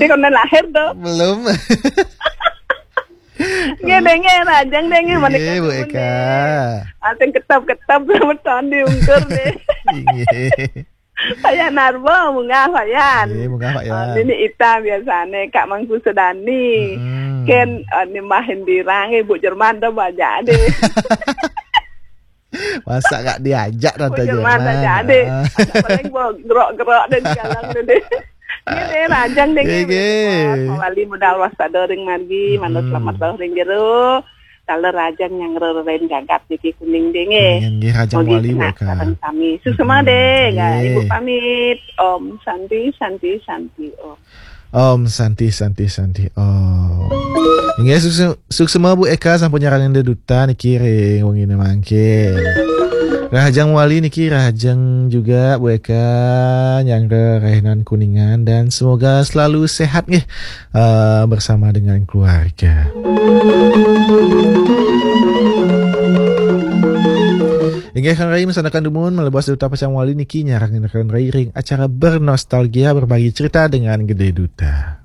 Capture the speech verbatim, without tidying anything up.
Kon lahir tuh. Belum. Nggih, dengar, ajang dengar, mana Nggih, Bu Eka. Asing ketap-ketap sama tadi ungkur deh. Nggih. Payan Narbo, munggah Payan. Nggih, munggah Payan. Ah, ini Ita biasanya, Kak Mangku Sedani. Mm-mm. Ken, ah, ini Mbah Indira, nggih, Bu Jerman, dah baca deh. Masa gak diajak, Bu Tante Jerman, Jerman? Baca deh. Ah. Paling bawa gerok-gerok dan galang deh. Ini deh, rajang deh, nggih, nggih, nggih. Mawali budal waspada ring margi, manut Mm-mm. selamat ring jero. Kalau rajang yang rerelain gagap niki kuning deh, nggih. Nggih, nggih, rajang Mugi wali, kena Bu Eka. Sareng sami. Susuma Mm-mm. Deh, nggih. Nggih. Ibu pamit. Om Santi, Santi, Santi, Om. Om Santi, Santi, Santi, Om. Inggih, sukse-, suksema Bu Eka sampun nyarengin deduta niki ring wengine mangke. Rahajeng wali niki, rahajeng juga Bu Eka nyangga rainan Kuningan, dan semoga selalu sehat nggih, eh, bersama dengan keluarga. Inggih, kang rai, masandekan dumun, malebas deduta pacang wali niki nyarengin kang rai ring acara Bernostalgia, berbagi cerita dengan Gede Duta.